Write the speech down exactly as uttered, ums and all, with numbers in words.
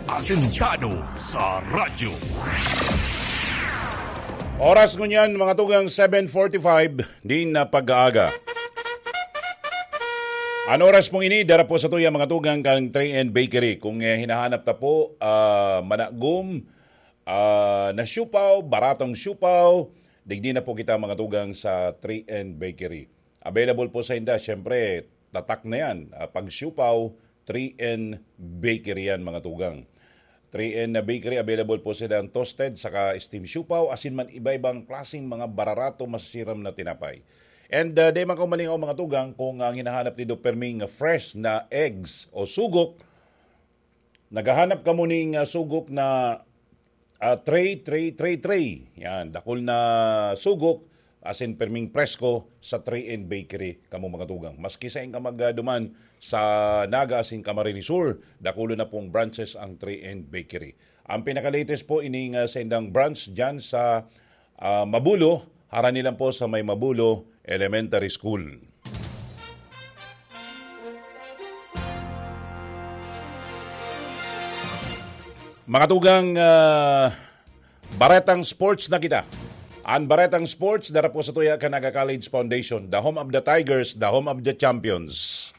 Asentado sa radyo. Oras ngunyan, mga tugang, seven forty-five din na pag-aaga. An oras pong ini, dara po sa tuya, mga tugang, kan three N Bakery. Kung, eh, hinahanap ta po, ah, managom, ah, na siupaw, baratong siupaw, digdi na po kita, mga tugang, sa three N Bakery. Available po sa inda, syempre, tatak na yan. Ah, pag siupaw, three N Bakery yan, mga tugang. Three N na Bakery, available po sila ang toasted, saka steam siupaw, asin man iba-ibang klaseng mga bararato, masisiram na tinapay. And, ah, di man kayo malingaw, mga tugang, kung ang hinahanap nindo perming fresh na eggs o sugok, naghahanap kamo ning, ah, sugok na, ah, tray, tray, tray, tray. Yan, dakul na sugok, asin perming presko sa three N Bakery, kamo, mga tugang. Maski sain ka magduman sa Naga asin Camarines Sur, dakulo na pong branches ang three N Bakery. Ang pinaka-latest po, ining, ah, sa indang branch dyan sa, ah, Mabulo, harani lang po sa may Mabulo Elementary School. Mga tugang, ah, baretang sports na kita. Ang baretang sports, dara po sa tuya kan Naga College Foundation, the home of the Tigers, the home of the champions.